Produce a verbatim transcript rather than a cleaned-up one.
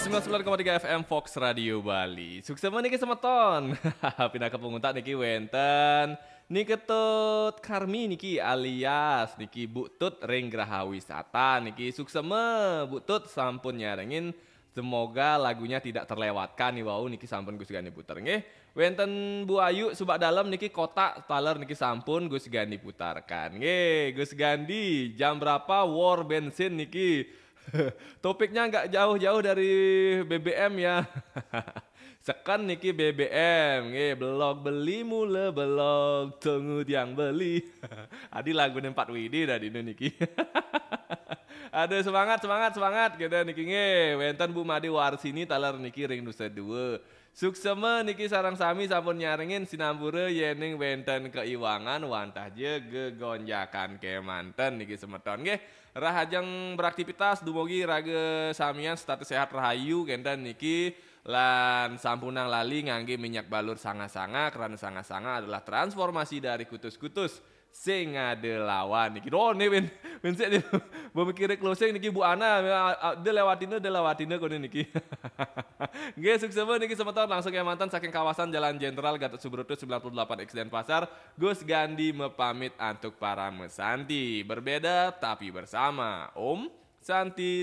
Sembilan koma tiga F M Fox Radio Bali. Suksma niki semeton. Pinaka panguntat niki wenten Ni Ketut Karmi niki alias niki Bu Tut ring Graha Wisata niki. Suksma Bu Tut sampun nyarengin. Semoga lagunya tidak terlewatkan nih wau niki sampun Gus Gandi puter nggih. Wenten Bu Ayu Subak Dalem niki kotak taler niki sampun Gus Gandi putarkan. Nggih, Gus Gandi, jam berapa war bensin niki? Topiknya nggak jauh-jauh dari B B M ya. Seken niki B B M, nggih, belog beli mula belog, tunggu tiang beli. Adi lagu empat W D dari ini niki. Aduh, semangat, semangat, semangat. Kita niki nggih, wenten Bu Made Warsini taler niki ring Nusa Dua. Suksma niki sareng sami sampun nyarengin sinampura yening wenten keiwangan wantah ja gegonjakan kemanten niki semeton nggih. Rahajeng beraktivitas, dumugi raga samian setata sehat rahayu kenten niki lan sampunang lali ngangge minyak balur sanga-sanga, karena sanga-sanga adalah transformasi dari kutus-kutus sing ada lawan niki. Oh, nih, Win. Win sik nih. Bo mikire closing niki Bu Ana, dia lewatina, dia lewatina kone niki. Nggih, suksma niki semeton langsung kemanten saking kawasan Jalan Jenderal Gatot Subroto sembilan puluh delapan X Denpasar. Gus Gandi mepamit antuk para mesanti. Berbeda tapi bersama. Om Santi.